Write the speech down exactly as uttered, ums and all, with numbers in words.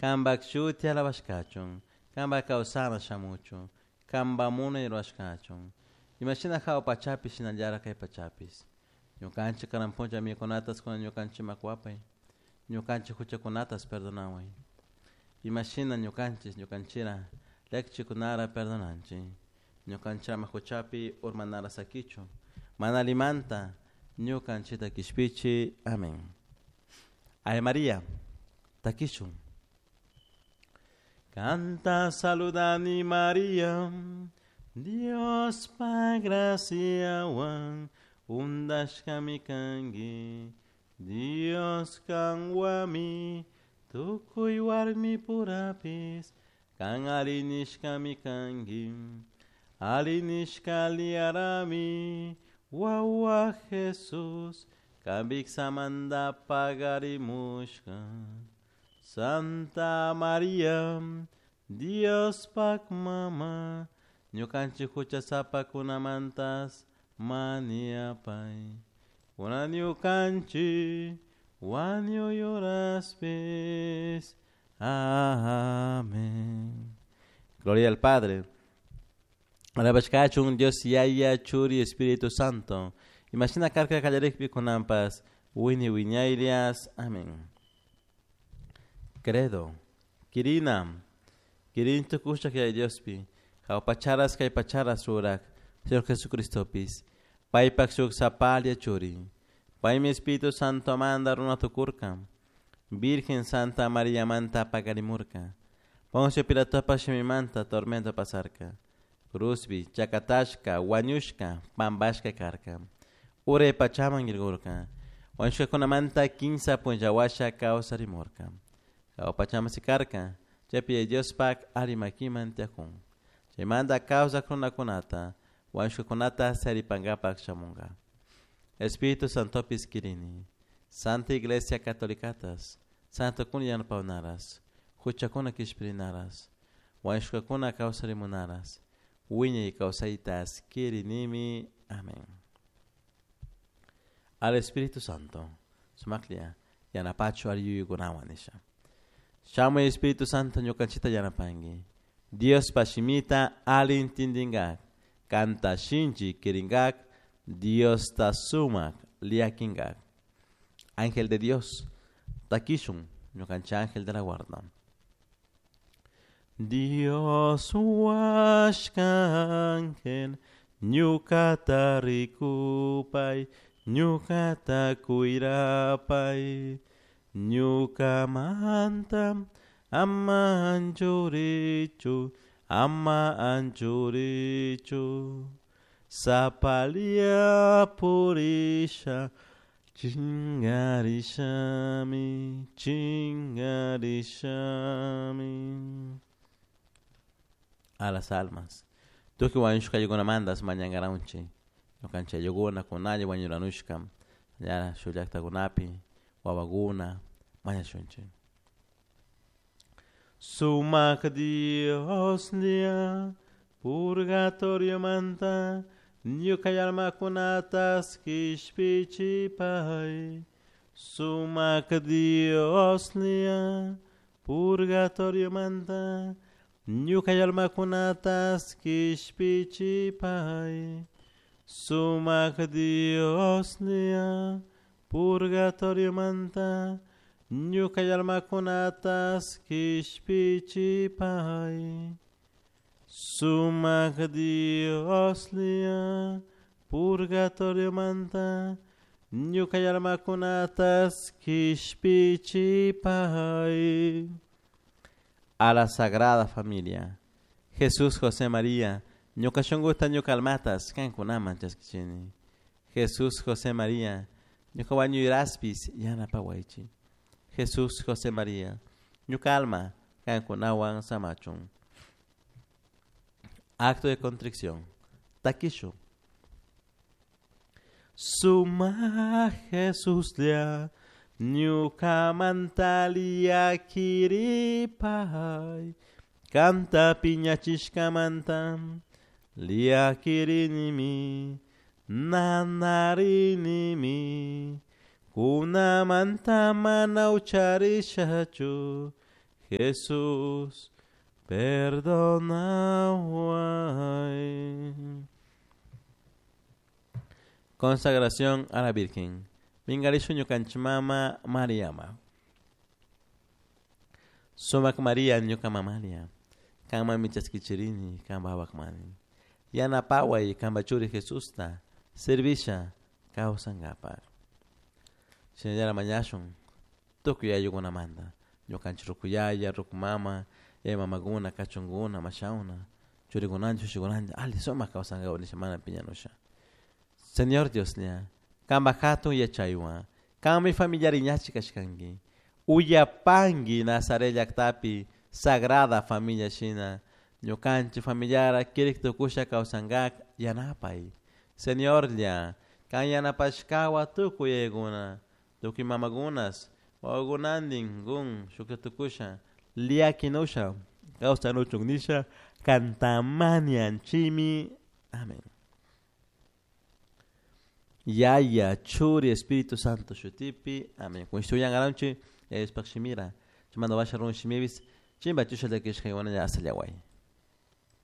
Kampak shuti alabashkachun, kampak kawsana shamuchun, kampak munay rurashkachun. Imashina hawa pachapi shinallara kay pachapish. Ñukanchik kanan puncha mikunatas kunan ñukanchikman kuwapay, ñukanchik huchakunatas perdonaway. Imashina ñukanchik ñukanchira llakichikunara perdonanchik. Ñukanchik ama huchapi urmanara sakichun, mana allimanta ñukanchikta kishpichi. Amén. Ave María, takishun. Canta saludani María, Dios pa graciawan undashkami kanki, Dios kanwami tukuy warmi purapis, kan arinishkami kanki, arinishka liarami, wawa Jesús, kambiksamanta pagarimushka. Santa María, Dios pak mama, ñukanchik huchasapakunamantas maniapay. Kunan ñukanchik wañuyuraspis. Amén. Gloria al Padre. Alabashkachun Dios Yaya Churi Espíritu Santo. Imashina karka kallarikpi kunanpas wini wiñaylias. Amén. Credo. Kirina. Kirin tukushak Yaya Diospi. Hawa pacharas kay pacharas rurak Señor Jesucristopis. Paypak shuk sapalia churi. Paymi Espíritu Santo manda runa tukurka. Virgen Santa María manta pagarimurka. Poncio Pilatopa shimimanta tormento pasarka. Cruzbi, chakatashka, wañushka, pambashka karka. Ure pachaman irgurka. Wañushkakunamanta kinsa punllawasha kawsarimurka. Hawa pachaman sikarka. Chaypi Diospak arimakiman tiyakun. Chaymanta kawsak runakunata, wañushkakunata saripankapak shamunka. Espíritu Santopis kirini. Santa Iglesia Catolicatas, Santo kun yanapawnaras, huchakuna kishpirinaras, wañushkakuna kawsarimunaras, wiñay kawsaytas kirinimi. Amén. Al Espíritu Santo, sumaklia, yanapachu ariyuykunawan nisha. Shamuy Espíritu Santo ñukanchita yanapanki. Dios pashimita alintindingak, kanta shinchi kiringak, Dios ta sumak liakingak. Ángel de Dios, takishun, ñukancha ángel de la guarda. Dios huashka ángel, ñukata rikupay, ñukata kuirapay, ñukamanta ama anchurichu, ama anchurichu, sapalia purisha, chingarishami, chingarishami. A las almas. Tuki wañushka mandas mañankaranchik. Ñukanchik ayllukuna kunalla wañuranushka. Ña shuk llaktakunapi wawakuna mañashunchik. Sumak Dioslla purgatorio manta ñuka almakunatas kishpichipay. Sumak Dioslla purgatorio manta ñuka almakunatas kishpichipay. Sumak Dioslla purgatorio manta ñuka almakunatas kishpichipay. Sumak Dioslla purgatorio manta ñuka almakunatas kishpichipay. A la Sagrada Familia. Jesús, José, María, ñuka shunkuta ñuka almatas kankunaman chaskichini. Jesús, José, María, ñuka wañuyraspis yanapawaychik. Jesús, José, María, ñuka alma kankunawan samachun. Acto de contrición. Takishu. Suma Jesuslla ñukamanta llakiripay, kanta piñachishkamanta llakirinimi, nanarinimi, kunamanta mana ucharishachu, Jesús, perdonahuai. Consagración a la Virgen. Mingarishu ñukanchik mama Mariama. Sumak Maria ñuka mamalia. Kanmanmi chaskichirini kanpa wawakmani. Yanapaway kanpa churi Jesusta servisha kawsankapak. Shinallara mañashun tukuy ayllukunamanta ñukanchik ruku yaya, ruku mama, yaya mamakuna, kachunkuna, mashawna, churikunanchik, ushikunanchik alli sumak kawsankapak nisha mana piñanusha. Señor Dioslla, kanpak hatun yachaywan, kanmi familiar iñachi kashkanki. Uyapanki Nazaret llaktapi Sagrada Familia shina ñukanchik familiara kirik tukusha kawsankak yanapay. Señorlla, kan yanapashkawa tukuy yayakuna, tukuy mamakunas, wawakunantin kun shuklla tukusha llakinusha kawsanuchun nisha kantamanianchimi. Amén. Yaya, Churi, Espíritu Santo shutipi. Amén. Kushtuyangaranchi, Yaya Diospaj shimira. Chaymanta washa runa shimipis, chimba chusha llakishka iguana asallahuay.